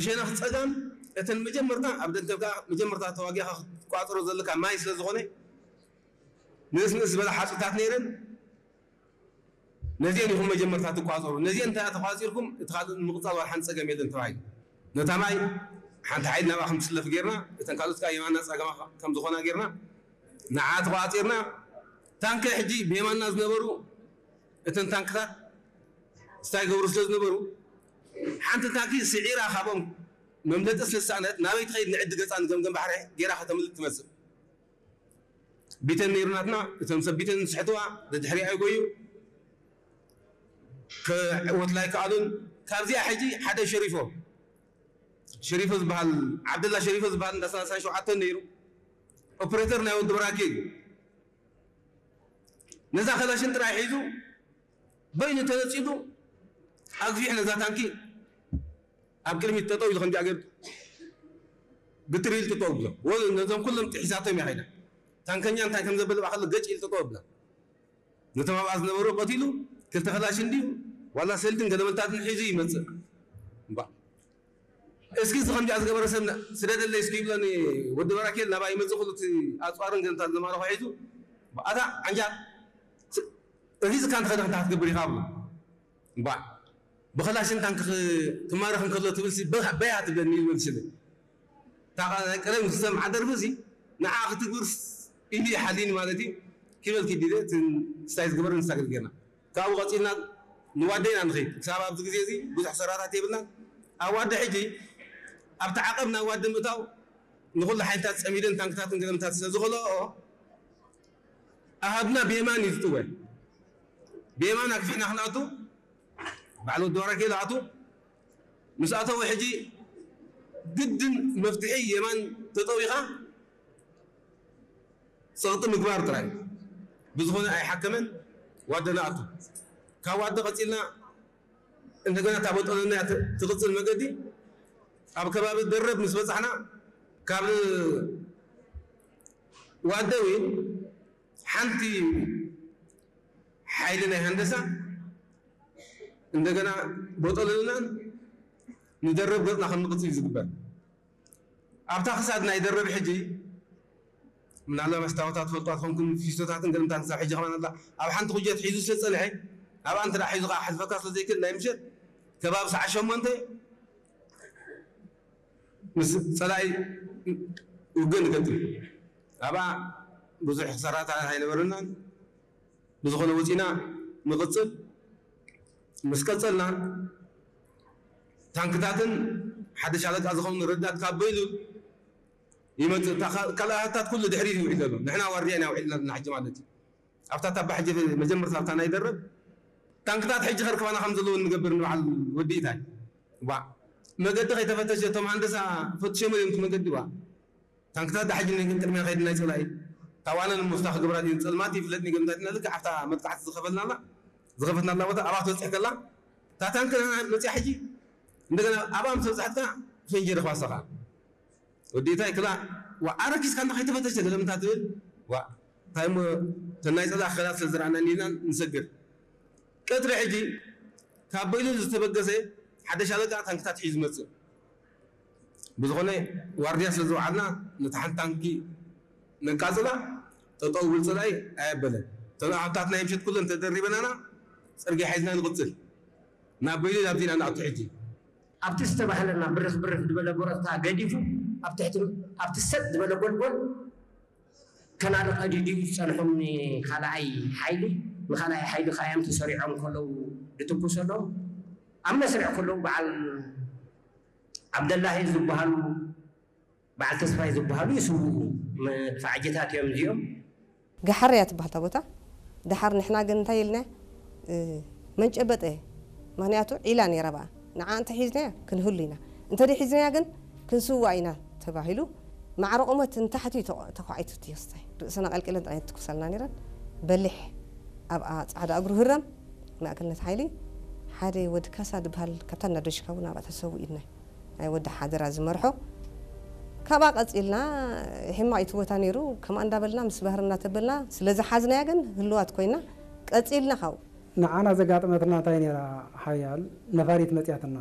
ብሸነኽ ጸጋም እተን መጀመርታ ኣብ ደንተልካ መጀመርታ ተዋጊኻ ክትቋጽሮ ዘለካ ማይ ስለ ዝኾነ ንእስ ንእስ ዝበላ ሓጹታት ነይረን። ነዚአን ኢኹም መጀመርታ ትቋጸሩ። ነዚአን እንተ ተቋጺርኩም እቲ ካልእ ንምቕጻል ዋላ ሓንቲ ጸገም የለን ተባሂሉ። ነታ ማይ ሓንቲ ሓይሊ ናብኣ ከም ትስለፍ ጌርና፣ እተን ካልኦት ከኣ የማና ጸገማ ከም ዝኾና ጌርና ንዓ ተቋጺርና። ታንከ ሕጂ ብየማና ዝነበሩ እተን ታንክታት ስታይ ገብሩ ስለ ዝነበሩ ሓንቲ ታንኪ ስዒራ ካብኦም መምለጢ ስለ ዝሰኣነት ናበይ ትኸይድ ንዕዲ ገጻ ንገምገም ባሕሪ ጌራ ከተምልጥ ትመጽእ። ቢተን ነይሩ ናትና እቶም ሰብ ቢተን ዝስሕትዋ ደድሕሪ ኣይጎዩ ክዕወትላ ኣይከኣሉን። ካብዚኣ ሕጂ ሓደ ሸሪፎ ሸሪፎ ዝበሃል ዓብደላ ሸሪፎ ዝበሃል እንዳ ሰላሳ ሸውዓተ ነይሩ ኦፕሬተር ናይ ወዲ በራኪ እዩ። ነዛ ከላሽን ጥራይ ሒዙ በይኑ ተነጺሉ ኣግፊሕ ነዛ ታንኪ ኣብ ቅድሚት ጠጠው ኢሉ ከምዚኣ ገይሩ ግትር ኢሉ ጠጠው ብሎ ወ ነዞም ኩሎም ጥሒሳቶም እያ ኸይዳ። ታንከኛ እንታይ ከም ዘበለ ባዕሉ ገጭ ኢሉ ጠጠው ብላ። ነቶም ኣብኣ ዝነበሩ ቀቲሉ ክልተ ከላሽን ድዩ ዋላ ሰልድን ገለመልታትን ሒዙ ይመጽእ። እምባ እስኪ እዚ ከምዚኣ ዝገበረ ሰብ ስደደለይ እስኪ ይብለኒ ወዲ በራኬል ናባይ ይመጽእ ኩሉ እቲ ኣጽዋርን ገለመልታትን ዝማረኾ ሒዙ ኣታ ዓንጃ እዚ ዝካን ትኸደ ክንታ ክትገብር ኢኻ ብሎ እምባ ብኸላሽን ታንክ ትማረኽ እንከሎ ትብል በያ ትብለኒ ይብል ስለ እታ ናይ ቀደም ዝሰምዓ ደርፊ እዚ ንዓ ክትግብር ኢሉ ይሓሊኒ ማለት እዩ። ኪበል ኪዲለ ስታይ ዝግበር ንሳገድ ጌርና ካብኡ ቀፂልና ንዋደ ኢና ንኸይድ ክሳብ ኣብዚ ግዜ እዚ ብዙሕ ሰራታት የብልና ኣብ ዋደ ሕጂ ኣብቲ ዓቐብ ናብ ዋደ ምእታው ንኹሉ ሓይልታት ፀሚደን ታንክታትን ገለምታት ስለ ዝኸልኦ ኣሃድና ብየማን እዩ ዝጥወ ብየማን ኣግፊሕና ክንኣቱ ባዕሉ ወዲ ባራኬ ዝኣቱ ምስ ኣተወ ሕጂ ግድን መፍትሒ የማን ተጠዊኻ ፀቕጢ ምግባር ጥራይ ብዝኾነ ኣይሓከመን ዋደ ንኣቱ ካብ ዋደ ቀፂልና እንደገና እታ በጠለና ትቕፅል መገዲ ኣብ ከባቢ ደረብ ምስ በፃሕና ካብ ዋደ እውን ሓንቲ ሓይሊ ናይ ሃንደሳ እንደገና ቦጠለልናን ንደረብ ገፅና ከም ንቕፅል እዩ ዝግበር ኣብታ ክሳድ ናይ ደረብ ሕጂ ምናልባት መስታወታት ትፈልጧ ትኾንኩም ፊስቶታትን ገለምታትን ክሳብ ሕጂ ከማን ኣላ ኣብ ሓንቲ ኩጀት ሒዙ ስለ ዝፀንሐ ኣብኣ እንተ ሒዙ ከዓ ሕልፈካ ስለ ዘይክእል ናይ ምሸት ከባቢ ሰዓ ሸሞንተ ምስ ፀላኢ ውግእ ንገጥም ኣብኣ ብዙሕ ክሳራታት ኣይነበረናን ብዝኾነ ወፂና ንቕፅል ምስ ቀፀልና ታንክታትን ሓደ ሻለቃ ዝኸውን ረዳት ካብ በይሉ ይመፅእ ካልኣታት ኩሉ ድሕሪ ይውዒል ዘሎ ንሕና ዋርድያ ኢና ውዒልና ዘለና ሕጂ ማለት እዩ ኣብታ ታባ ሕጂ መጀመርታ ኣብታ ናይ ደረብ ታንክታት ሕጂ ከርከባና ከም ዘለውን ንገብር ንበዓል ወዲእታይ ዋ መገዲ ከይተፈተሸ እቶም ሃንደሳ ፈትሸሞ እዮም እቲ መገዲ ዋ ታንክታት ዳሕጂ ንግን ቅድሚያ ከይድና ይፅላኢ ታዋነ ንምፍታ ክገብራ ድዩ ፀልማት ይፍለጥ ንገምታትና ልክ ኣብታ መጥቃዕቲ ዝኸፈልና ኣላ ዝኸፈትና ኣላ ቦታ ኣብኣ ትበፅሕ ከላ እታ ታንክ መፅያ ሕጂ እንደገና ኣብኣ ምስ በፅሓትካ ፈንጂ ረኽባ ሰኻ ወዲእታይ ክላ ዋ ኣረኪስካ እንዳ ከይተፈተሸ ገለምታ ትብል ዋ እንታይ እሞ ተናይ ፀላ ክኸላት ስለ ዝረኣና ኒና ንሰግር ቀትሪ ሕጂ ካብ በይኑ ዝተበገሰ ሓደ ሻለቃ ታንክታት ሒዙ መፅእ ብዝኾነ ዋርድያ ስለ ዝወዓልና ነታ ሓንቲ ታንኪ ነቃፅላ ጠጠው ብል ፀላኢ ኣየበለን እተን ኣሃብታት ናይ ምሸት ኩለን ተደሪበናና ፅርግያ ሒዝና ንቕፅል ናብ በይኑ ናብዚ ኢና ንኣቱ ሕጂ ኣብቲ ዝተባህለና ብርኽ ብርኽ ዝበለ ጎረፍታ ገዲፉ ኣብ ትሕቲ ኣብቲ ሰጥ ዝበለ ጎልጎል ከናዲ ቀዲዱ እዩ ዝፀንሖም ንኻልኣይ ሓይሊ ንኻልኣይ ሓይሊ ከዓ እዮም ተሰሪዖም ከለዉ ዝትኩሰሎም ኣብ መስርዕ ከለዉ በዓል ዓብደላሂ ዝበሃሉ በዓል ተስፋይ ዝበሃሉ ይስውኡ መድፋዕጅታት እዮም እዚኦም ገሓር እያ ትበሃል እታ ቦታ። ደሓር ንሕና ግን እንታይ ኢልና መንጨበጠ ምኽንያቱ ዒላ ነይራ ብኣ ንዓ እንተ ሒዝናያ ክንህሉ ኢና እንተ ሒዝናያ ግን ክንስዋእ ኢና ተባሂሉ ማዕረ ቁመት ንታሕቲ እዩ ተኳዒቱ እቲ ክስታይ ርእሰና ቀልቂለን ጥራይ ትኩሳልና ነይረን በሊሕ ኣብኣ ፃዕዳ እግሩ ህረም ማእከልነት ሓይሊ ሓደ ወዲ ካሳ ዝበሃል ካብታ እናደሽካ እውን ኣብኣ ተሰዊኡ ኢልና ናይ ወዲ ሓደራ ዝመርሖ ካብኣ ቀፂልና ሕማቕ እቲ ቦታ ነይሩ ከምኣ እንዳበልና ምስ ባህሪ እናተበልና ስለ ዝሓዝናያ ግን ህልዋት ኮይና ቀፂልና ካብኡ ንዓና ዘጋጠመትና እንታይ ነይራ ሓያል ነፋሪት መፅያትና